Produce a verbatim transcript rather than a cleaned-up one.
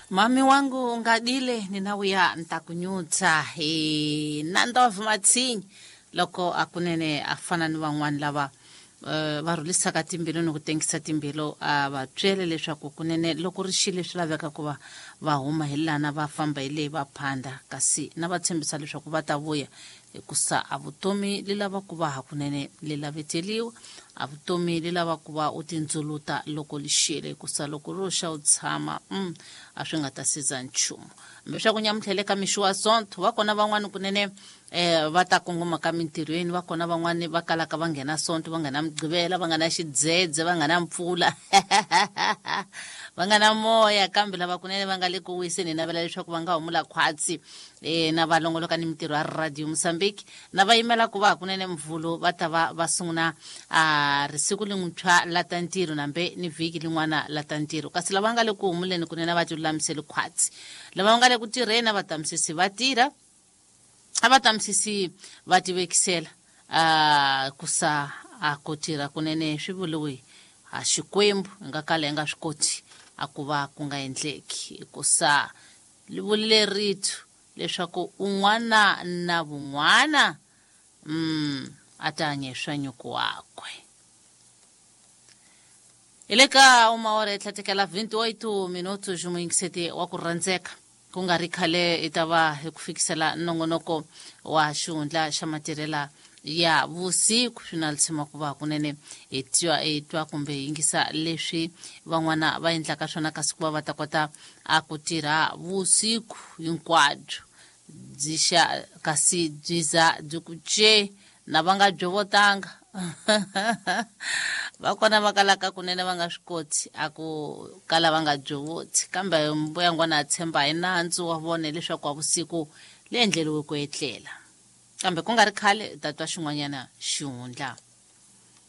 Mami wangu ungadile ninawuya ntakunyutsa hi nandova matsinyi loko akunene afana ni van'wani lava uh, va rhulisaka timbilu ni ku tengisa timbilu a va byele leswaku kunene loko ri xile swi laveka ku va va huma hi lana va famba hi leyi va phanda kasi na va tshembisa leswaku va ta vuya hikusa a vutomi li lava ku va hakunene li laveteliwa a vutomi li lava ku va u tindzuluta loko li xile hikusa loko ro xa u tshama mm, a swi nga ta siza nchumu hambi swa ku nyamutlhele ka mixo wa sonto va kona van'wani kunene eh va ta kongoma ka mintirhweni va kona van'wani va kalaka va nghena sonto va nghena mugqivela va nga na xidzedze va nga na mpfula va nga na moya kambe lava kunene va nga le ku wiseni hi navela leswaku va nga humula khwatsi eh na va longoloka ni mintirho ya radio Mozambique na va yimela ku va hakunene mvhulo va ta va va sungula a risiku lin'wintshwa la ta ntirho nambe ni vhiki lin'wana la ta ntirho kasi lava nga le ku humuleni kunene va ti lulamiseli khwatsi lava va nga le ku tirheni a va tamisisi va tirha a va tamisisi va tivekisela a kusa a ku tirha kunene swi vuriwe a xikwembu hi nga kala hi nga swi koti a ku va ku nga endleki hikusa li vulile rito leswaku un'wana na vun'wana mm, a ta hanya nyuku wakwe hi le ka uma ora etlhatekela vinte e oito minutos muyingiseti wa ku rhandzeka ku nga ri khale i ta va hi ku fikisela nongonoko wa xihundla xa matirhela ya vusiku swi na tshama ku va kunene hi twa hi twa kumbe hi yingisa leswi van'wana va endlaka swona kasi ku va va ta kota a ku tirha vusiku hinkwabyo byi xa kasi byi za byi ku ce na va nga byovotanga va kona va kalaka kunene va nga swi koti a ku kala va nga byovoti kambe mbuyangwana a tshemba hi nandzu wa vona leswaku wa vusiku le endleriwe ku etlela kambe ku nga ri khale u ta twa xin'wanyana xihundla.